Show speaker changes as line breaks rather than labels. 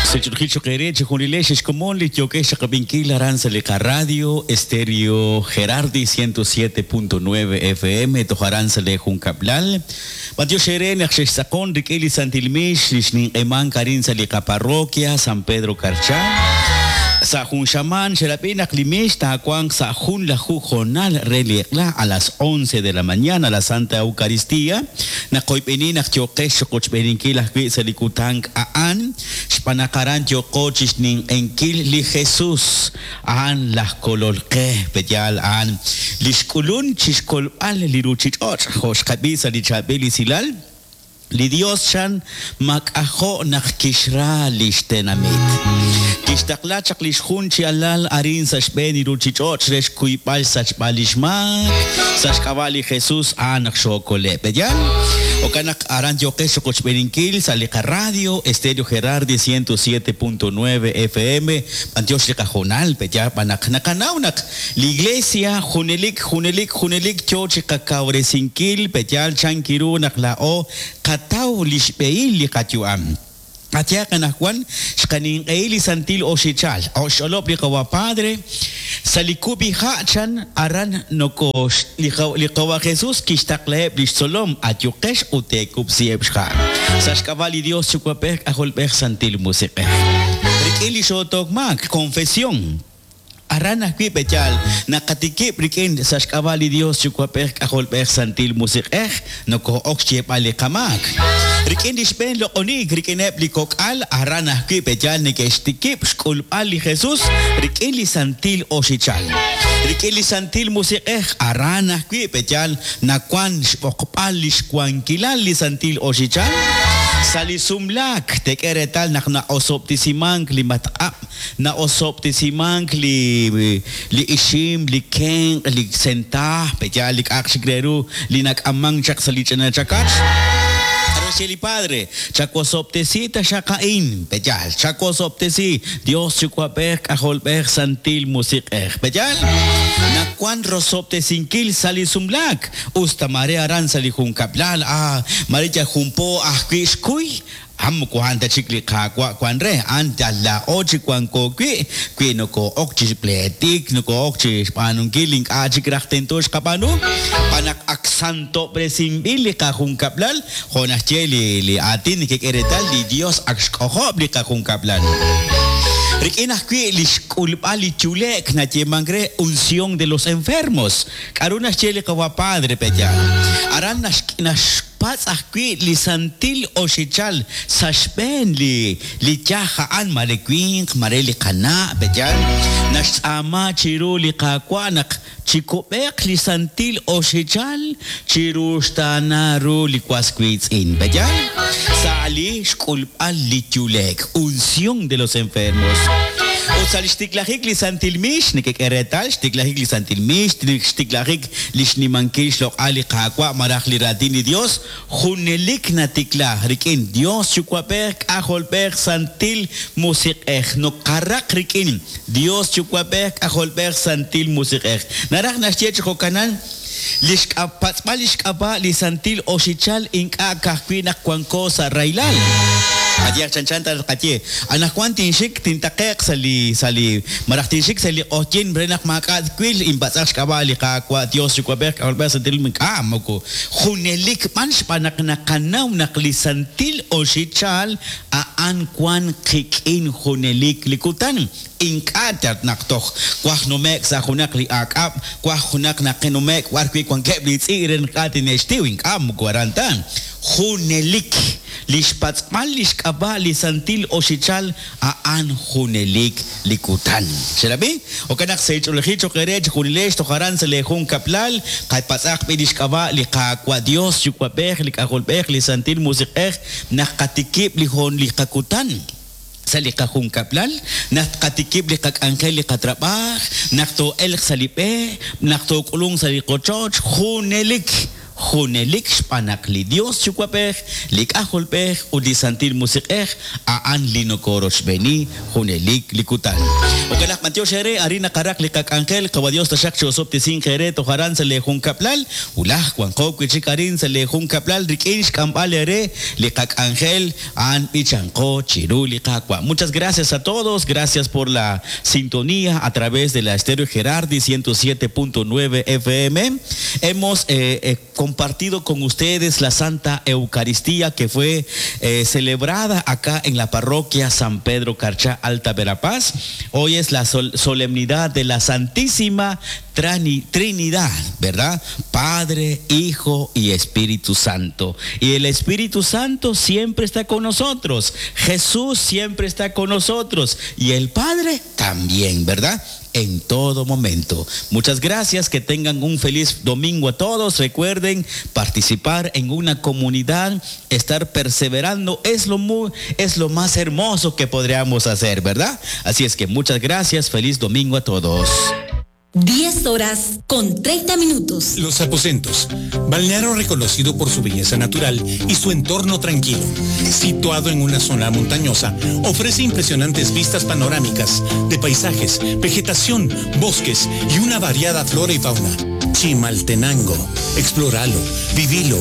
Sech'ulqil choq' eere chejunilex ex komon li yookex xaqab'inkil aran sa' li qaradio Estéreo Gerardi 107.9 FM toj aran sa' lee junkab'lal. B'antiox eere naq xextz'aqon rik'in li Santil Mix li xninq'emank arin sa' li qaparroquia San Pedro Carchá. Sa' jun xamaan xerab'i naq li mix taawanq sa' junlaju hoonal re li eq'la a las once de la mañana la Santa Eucaristía. Naqoyb'eni naq yooqex chiqochb'eeninkil ajwi' sa' li kutan a'an, xb'aan naq aran yooqo chixninq'ehinkil li Jesus, a'an laj Kolol qe, pe'yaal a'an li xk'ulun chixkolb'al li ruchich'och', jo' xqab'i sa' li chaab'il esilal, Li Dios chan mak'ajo' naq kixra lix tenamit. Kixtaqla chaq lix jun chi alal arin sa' xb'een li ruchich'och' re xkuyb'al xsachb'al lix maak, sa' xk'ab'a' li Jesus a'an naq xookole'. Pe'yaal? Jo'kan naq aran yooqex chiqochb'eeninkil sa' li qaradio Estéreo Gerardi 107.9 FM, b'antiox li qahoonal, pe'yaal b'an naq naqanaw naq Li Iglesia junelik, junelik, junelik yoo chiqakawresinkil, pe'yaal chan kiru naq laa'o qataw lix b'ehil li qayu'am. Qayehaq anajwan, xqaninq'ehi li santil oxichal, xch'olob' li Qawa' Padre, sa' li kub'iha' chan aran nokoox, li Qawa' Jesus kixtaqlaheb' lix tzolom, Ayuqex ut teekub'siheb' xha' sa' xk'ab'a' li Dios Yuwa'b'ej, K'ajolb'ej, Santil Musiq'ej. Rik'in li xootook maak, confesión. Aran ajwi' pe'yaal naqatikib' rik'in sa' xk'ab'a' li Dios Yuwa'b'ej K'ajolb'ej Santil Musiq'ej noko'ok xyeeb'al li qamaak. Rik'in li xb'een loq'oniik rik'ineb' li kok'al aran ajwi' pe'yaal neke'xtikib' xk'ulb'al li Jesus rik'in li Santil Oxichal. Rik'in li Santil Musiq'ej aran ajwi' pe'yaal nawan xb'oqb'al lix wankilal li Santil Oxichal. Sa' li sumlaak teek'e reetal naq na'osob'tesimank li matq'ab' Na'osob'tesimank li li ixim, li kenq', li sentaaj, pe'yaal li k'a'aq chik re ru li nak'ammank chaq sa' li ch'ina chakach? K'aru xye li padre? Chawosob'tesi taxaq a'in, pe'yaal? Chawosob'tesi, Dios Yuwa'b'ej, K'ajolb'ej, Santil Musiq'ej, pe'yaal? Nawank rosob'tesinkil sa' li sumlaak, us ta maare aran sa' li junkab'lal, ah, maare yal jun po ajwi' xkuy, A'an moko a'an ta chik li Qaawa' wan re, a'an yal laa'o chi wanko wi', wi nokoo'ok chi pleetik, nokoo'ok chi xb'aanunkil li ink'a' chik raj tento xqab'aanu, xb'aan naq ak santob'resinb'il li qajunkab'lal, jo' naxye li li aatin nekek'e reetal, li Dios ak xk'ojob' li qajunkab'lal. Rik'in ajwi' li xk'ulb'al li yule'k nayeemank re unción de los enfermos. K'a'ru naxye li Qawa' Padre pe'yaal? Aran nax. Patz' ajwi' li santil oxichal sa' xb'een li li yaj a'an, mare winq, mare li qana', pe'yaal? Naxtz'aama chiru li Qaawa' naq chikub'eeq li santil oxichal chiruxtaana ru li was wiitz'in, pe'yaal? Sa' li xk'ulb'al li yule'k, unción de los enfermos. Ut sa' li xtiklajik li santil miix, nekek'e reetal, xtiklajik li santil miix, xtiklajik Li xnimankil xloq'al li Qaawa' malaj li Raatin li Yos junelik natikla rik'in Yos Yuwa'b'ej, K'ajolb'ej, Santil Musiq'ej. Nokaraq rik'in Yos Yuwa'b'ej, K'ajolb'ej, Santil Musiq'ej. Naraj naxye chi jo'kanan, li xpatz'b'al li xk'ab'a' li Santil Oxichal ink'a' ka'ajwi' naq wanko sa' rahilal. Qayehaq chanchan ta tqaye, Anaqwan tinxik tintaqe'q sa' li sa' li malaj tinxik sa' li q'ojyin re naq maak'a' twil, inpatz'aq xk'ab'a' li Qaawa' Dios Yuwa'b'ej, K'ajolb'ej, Santil Ink'a' moko junelik b'an xb'aan naq naqanaw naq li Santil Oxichal a'an wan qik'in junelik li kutan. Ink'a' yal naq toj waj nume'k sa' junaq li aak'ab', waj junaq naqenume'k b'ar wi' wankeb' li tz'i' re naq ink'a' tine'xtiw, ink'a' moko aran ta. Junelik. Li xpatz'b'al li xk'ab'a' li santil oxichal a'an junelik li kutan. Xerab'i? Jo'kan naq seech'oolejil cho'q eere chejunilex toj aran sa' leejunkab'lal, qapatz'aq b'i' li xk'ab'a' li Qaawa' Yos, Yuwa'b'ej, li K'ajolb'ej, li Santil Musiq'ej, naq qatikib' li hoon li qakutan sa' li qajunkab'lal, naq tqatikib' li qak'anjel li qatrab'aaj, naq too'elq sa' li b'e, naq took'ulunq sa' li qochoch, junelik. Junelik xb'aan naq li Dios Yuwa'b'ej, li K'ajolb'ej ut li Santil Musiq'ej a'an li nokorochb'eeni junelik li kutan. Jo'kan naq b'antiox eere arin naqaraq li qak'anjel, Qawa' Dios taxaq chi'osob'tesinq eere toj aran sa' lee junkab'lal, wulaj wanqo wi' chik arin sa' lee junkab'lal rik'in xk'amb'al eere li qak'anjel a'an b'ichanqo chiru li Qaawa'. Muchas gracias a todos, gracias por la sintonía a través de la Estéreo Gerardi 107.9 FM. Hemos eh, eh, compartido con ustedes la Santa Eucaristía que fue eh, celebrada acá en la parroquia San Pedro Carchá, Alta Verapaz. Hoy es la sol solemnidad de la Santísima Trinidad, ¿verdad? Padre, Hijo y Espíritu Santo. Y el Espíritu Santo siempre está con nosotros. Jesús siempre está con nosotros. Y el Padre también, ¿verdad? En todo momento. Muchas gracias, que tengan un feliz domingo a todos. Recuerden participar en una comunidad, estar perseverando es lo, muy, es lo más hermoso que podríamos hacer, ¿verdad? Así es que muchas gracias, feliz domingo a todos.
10 horas con 30 minutos.
Los Aposentos, balneario reconocido por su belleza natural y su entorno tranquilo. Situado en una zona montañosa, ofrece impresionantes vistas panorámicas de paisajes, vegetación, bosques y una variada flora y fauna. Chimaltenango, explóralo, vivilo.